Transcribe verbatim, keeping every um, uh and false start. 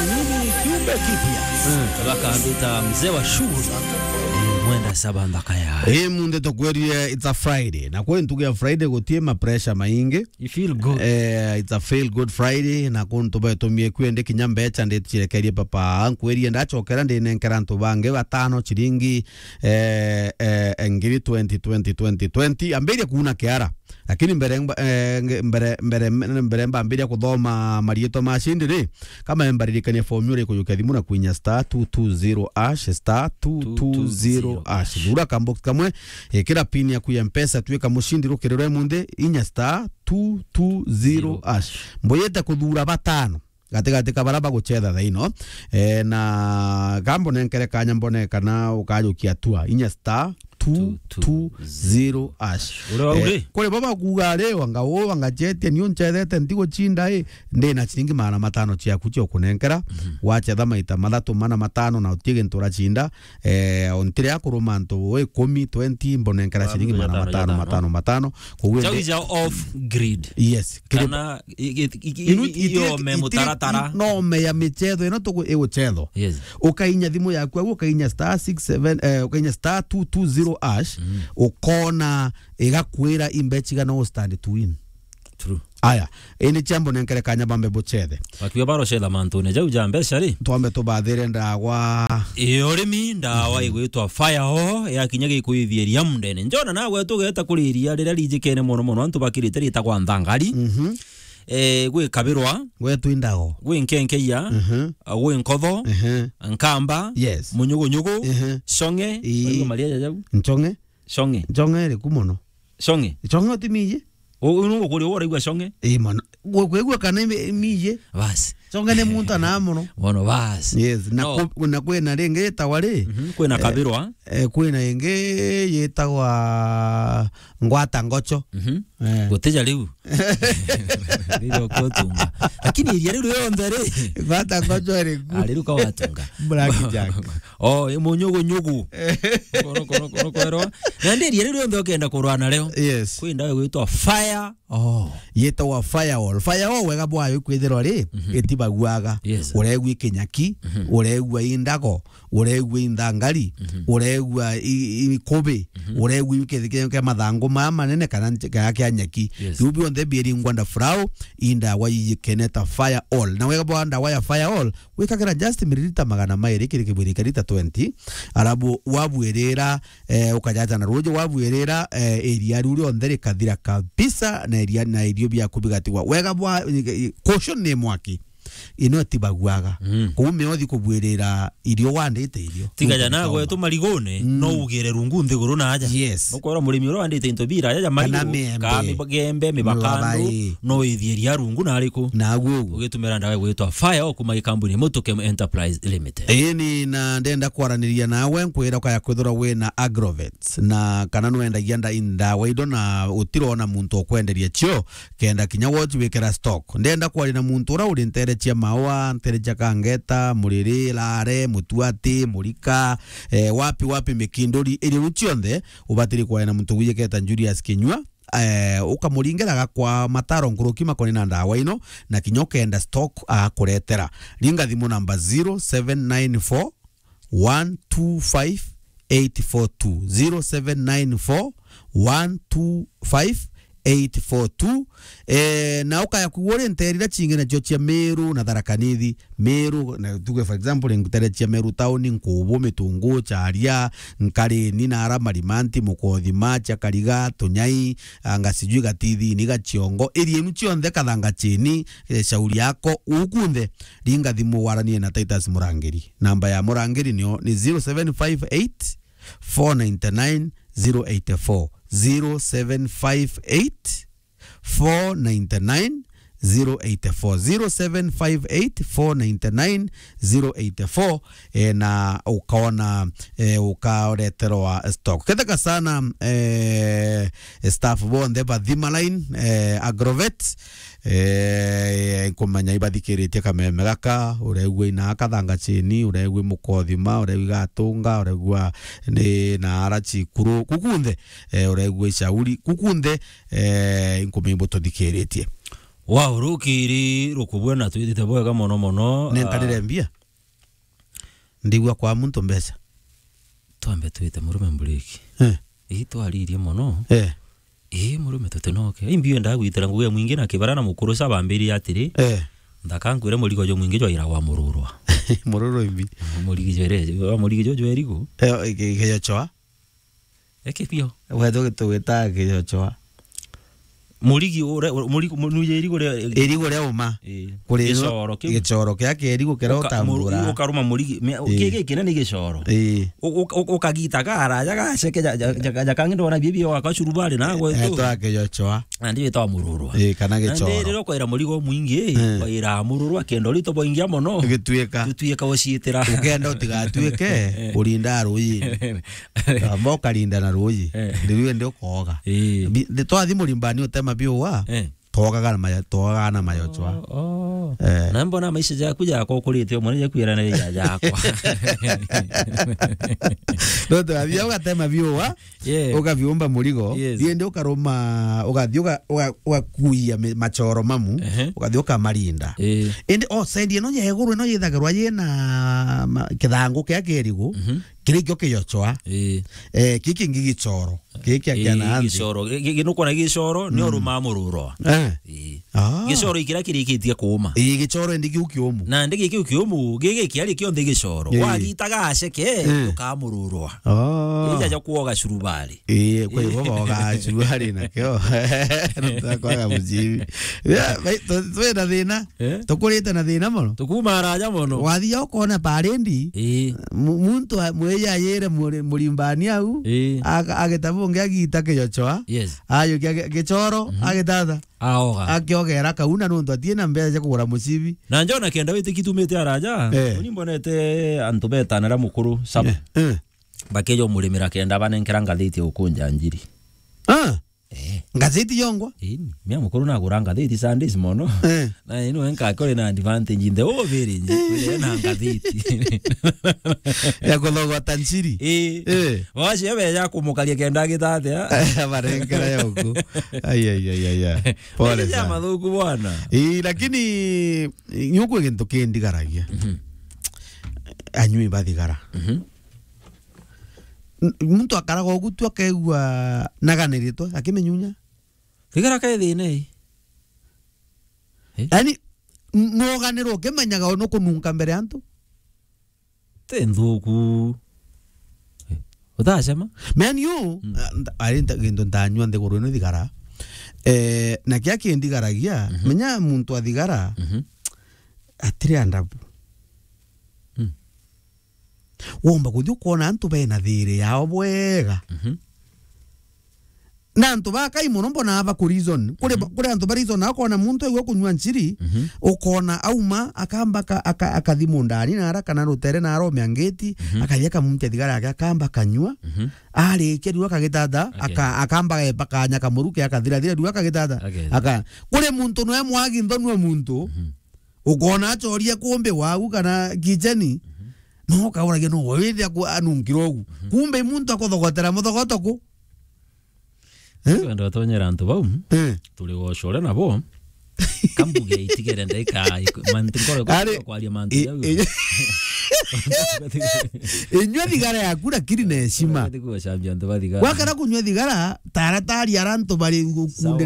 Mimi kiumbe kipya. Mm. Bakambita mzee wa shughuli. Eh, mwenda saba mbaka ya. Eh, munde tukwerie it's a Friday. Na kwi ntuku ya Friday gutie ma pressure maingi. You feel good. Eh, it's a feel good Friday. Na kuntu betumie kwende kinya mbecha nditucirekerie papa. Nkwerie ndachokera ndinenkera antu bangi batano chiringi, eh, eh, ngiri twenty, twenty, twenty, twenty. Ambiria kuuna kiara. Lakini mbere mba-, eh, nge-, mbere, mbere, mbere mbambiria kuthoma mariitwa ma cindi ri, kama mbaririkania formula ikujukia thimu na kwinya star two two zero hash, star two two zero hash. Thura kambox kamwe, ikira pin yaku ya Mpesa, twika mucindi rukiri rwa munthi, inya star two two zero hash. Mbuyite kuthura batano gatigati ka bara bagucetha thaa ino. Eh, na kambo nenkere kanya mbone kana ukajukia tua inya star two two zero hash. Uri wau ri? Eh, kuri baba kuuga ari wanga uu wanga chetia ni uncethete ntiguchinda i, ndi na chiringi magana matano ciaku cia kunenkera. Mhm. Wacetha maita mathatu mana matano na utie gintu urachinda, eh, ontire akuruma antu ikumi, twenty, mbonenkera ciringi magana matano, matano, matano. Koguo chau indi ija off grid. Yes. Kiri- kana i-, i-, i-, i-, inu-, i-, iti-, iyome iti-, mutaratara. Nome ya michetho ino tugu-, iguchethwa. Yes. Ukainya thimu yaku au, ukainya star six seven, eh, ukainya star two two zero hash, mm, ukona igakwira imbechi igana u stand to win. True. Aya, ini chambo nenkere kanya bambe buchethe. Bakiuga barocetha mantune jau ja mbeca ri? Twambe tubathire ndawa. Ii, urimi ndawa igwitwa Fire O, yakinya gikuithia iria mundene. Njona nawe tugeta kuri iria riria rijikene mono mono, antu bakirite ritagwa nthangari. Mhm. Eh, gwi kabirwa. Gwetu indago. Gwi nkenkeia. Mhm. Gwi nkotho. Mhm. Nkamba. Yes. Munyugunyugu. Mhm. Shong'e. Ii. Waigua maria jaja jau? Nchong'e. Shong'e. Nchong'e iriku mono? Shong'e. Shong'e utimiji? U-, u-, nungu kuri uraigua shong'e? Ii mono. Gu-, kwigua kana imi-, imiji? Basi. Shong'e ni muntu ana mono. Mono, basi. Yes, na no. Ku-, na kwina ringi yitagwa ri? Mhm, kwina eh, kabirwa. Eh, kwina ingi yitagwa ngwata ngocho. Mhm. Eh. Gutija riu. Riu ukutunga. Lakini iria riu rionthe ri? Ngwata ngocho iriku? Ah, riu ka watunga. Black Jack. Oh, i munyugunyugu. Kono, kono, kono, kwerwa. Na ndi iria riu rionthe ukenda kurwa nario. Yes. Kwi ndawa igwitwa Fire O. Yitagwa Fire O. Fire O wega bwayo ikwithirwa ri, mhm, itibaguaga. Yes. Uregua ikinyaki, mhm, uregua indago, uregua inthangari, mhm, uregua i-, i-, ikubi, mhm, uregua i-, ki-, ki-, kia mathangu maya manene kana nche-, kana kia nyeki. Yes. Biu bionthe bieri ngwanda furau, i ndawa iyikeneta Fire All. Na wega bwa ndawa ya Fire All, wikagira just miririta magana mairi kiri kibwirika rita twenty, arabu wabwirira, eh, ukajaja na ruuji, wabwirira, eh, iria riu rionthe rikathira kabisa, na iria, na irio biaku bigatigwa. Wega bwa, eh, eh, caution ni mwaki. Ino itibaguaga. Mm. Kuu miothi kubwirira irio wandite irio. Tiga ja nugwire nagwe kauma tu marigune, mm, no ugire rungu nthiguru na aja. Yes. Nukwira murimi uria wandite into bira aja ja marigu, kana miembe, ka migembe, mibakandu, mibabai, no ithie ria rungu na ariku. Naguo uguo. Ugitumira ndawa igwitwa Fire O kuma gikambuni Mutuke Enterprise Limited. Ii, ni na ndenda kwaraniria nawe, nkwira ukaya kwithirwa wina Agrovet, na kana nwendagia nda-, ndawa indo na utirona muntu ukwenderia cio, kenda kinya woji wikira stock. Ndenda kwaria na muntu uria uri ntere cia Maua, ntere cia Kangeta, Muriri, Lare, Mutuati, Murika, eh, wapi, wapi, Mikinduri, iri riu cionthe, ubatiri kwaria na muntu wijiketa Julius Kinyua, eh, ukamuringira agakwa mataro nkuruki makoni na ndawa ino, na kinya ukenda stock agakuretera. Ringa thimu namba zero seven nine four, one two five eight four two, zero seven nine four, one two five eight four two. Eh, na ukaya kuigua uri nteere iria cingi nacio cia Meru na Tharaka Nithi. Meru, na tuge for example, nteere cia Meru town, Nkubu, Mitungu, Charia, Nkarini, Nara, Marimanti, Mukothima, Chakariga, Tunyai, anga sijui Gatithini, Gachiongo, area inu cionthe, Kathanga Chini, eh, Shauri Yako, uu kunthe, ringa thimu waranie na Titus Murangiri. Namba ya Murangiri nio ni zero seven five eight, four nine nine, zero eight four, zero seven five eight, four nine nine, zero eight four, zero seven five eight, four nine nine, zero eight four, eh, na ukaona, eh, ukareterwa stock. Ketheka sana, eh, staff bonthe ba Thima Line, eh, Agrovet, eh, nkumenya ibathikiritie kameme gaka, uregua ina Kathanga Chini, uregua Mukothima, uregua Gatunga, uregua ni na ara Chikuru, kukunthe, eh, uregua Ishauri, kukunthe, eh, nkumenya ibututhikiritie. Wa urukiri rukubwe na twithite bwega mono mono. Nenkanire, ah, mbia. Ndigua kwa muntu mbeca. Twambe twite murume mburiki. Eh. Ii twaririe mono. Eh. Ii murume tutinoke. Ii mbio ndagwitira ngugi ya mwingi na kibara na mukuru sa bambiri atiri. Eh. Ndaka nkwire murigo jo mwingi jwaira wa mururwa. Mururu imbi. Murigi jwere, wa murigi jo jwerigo. Eh, ke-, ke-, keyochoa. Eke pio. Wetu tugwita keyochoa. Murigi ure, murigi, mu-, nuje irigo ria, irigo ria uma. Ii. Kuri gicoro kiu. Gicoro kia kerigo kira uka-, utambura. Muru-, ukaruma murigi. Me-, ii, giki kinene gicoro. Ii. U-, u-, u-, ukagita garaja gaceke ja, ja, ja, ja kangi ndona bibi wa kacurubari na gwe. Eh, tu. Twa keyochoa. Na ndi witwa mururwa. Ii, kana gicoro. Na ndi riro kwira murigo mwingi, eh, kwira mururwa kendo rito boingia mono. Gituika. Tutuika uciitira. Ukenda utigatuike, eh, urinda ruyi. Amba ukarinda na ruyi. Eh. Ndiwe ndi ukoga. Eh. Bi-, ndi twathi murimbani utema biuwa. Eh. Twogaga na mayo, twogaga na mayo chwa. Oh, oh. Eh. Na mbona maisha jaku jako ukurite umwe ni jakwira na ya jakwa. Ndo twathi ugatema biuwa. Yeah. Ukabiumba murigo. Yes. Indi ukaruma, ugathi uga-, uga-, ugakuia mi-, machoro mamu, ehe, ugathi ukamarinda. Eh. Indi, oh, side ino ya iguru ino yithagirwa yina ma-, kithangu kia kerigo, mhm, kiri kio kiyochwa. Eh. Eh, kiki ngi gichoro. Kiki kia, eh, kia na anthi. Gichoro. Gi-, gi-, nukwona gichoro, ni, mm, uruma mururwa. Eh. Eh. Ah. Gichoro ikira kirikitie kuuma. Ii, gichoro indi kiu kiumu. Na ndi giki kiu kiumu, gigi kiari kionthe gichoro. Ii. Wagitaga aceke, mm, ukamururwa. Oh. Ija ja kuoga curubari. Ii, kwa hivyo boga curubari na kio. Tutakwaga mucibi. Ya, bai, tu-, twina thina. Eh? Tukurite na thina mono. Tukuma araja mono. Wathia ukona parendi. Ii. Mu-, muntu a-, mweya yire muri-, murimbani au. Ii. Aga-, agitabu ngi agita kiyochoa. Yes. Ayo kia gi-, gichoro, mhm, agitatha. Aoga. Akiogera kauna nontu atie na mbeca cia kugura mucibi. Na njona kenda witiki tumite araja. Eh. Uni mbonete antu betanira mukuru saba. Eh, eh. Bakeja umurimira kenda banenkera ngathiti ya ukunja njiri. Ah. Eh. Ngathiti yongwa? Ii, mia mukuru nagura ngathiti Sundays mono. Eh. Na ino enka kore na advantage in the whole village. Eh. Kwire na ngathiti. Ya kuthogota njiri. Eh. Eh. Wacio beja kumukaria kenda agitatia. Abarenkera yoku. Ai, ai, ai, ai, ai. Pole sana. Mathuku bwana. Ii, lakini, nyuku gintu kindigaragia. Mhm. Anyui bathigara. Mhm. N-, muntu akaraga ugu tu akaigua naganiritwe, akimenyunya. Thigara kae thina ii. Eh? Yaani, n-, noganirwo ukimenyaga nukununka mbere ya antu. Ti nthuku. Eh, utacema? Man you, mm, ah, nta-, ari nta-, gintu ntanyua nthiguru ino thigara. Eh, na kia kindigaragia, mhm, menya muntu athigara, mhm, atiri andabu. Mm. Womba kuthi ukona antu bena thiri yao bwega. Mhm. Na antu bakai mono mbona aba ku reason. Kuri, mhm, kuri antu ba reason akona muntu aigua kunyua nchiri, mhm, ukona auma, akamba ka-, aka-, akathi mundani na ara kana rutere na aromea ngeti, mhm, akathi akamuntia thigara yake, akamba kanyua, mhm, arikia riu akagitata, aka-, akamba gepa kanya kamuruke, akathira thira riu akagitata. Aka-, kuri muntu noe mwagi nthonua muntu, mhm. Ukona achoria kumbi wagu kana kicheni, mhm, no kauragia no withia ku anunkira ugu. Mhm. Kumbe i muntu akuthogotera muthogoto ku. Eh? Twenda tonyera antu bau, eh, turi gocore nabo. Kambuge itigere ndaika iku-, mantu nkoro. Ari, kwaria mantu i-, jau. I-, inyua thigara yaku lakini na heshima. Tikucambia antu ba thigara. Wakara kunyua thigara, taratari ara antu bari gu-, sawa, kunde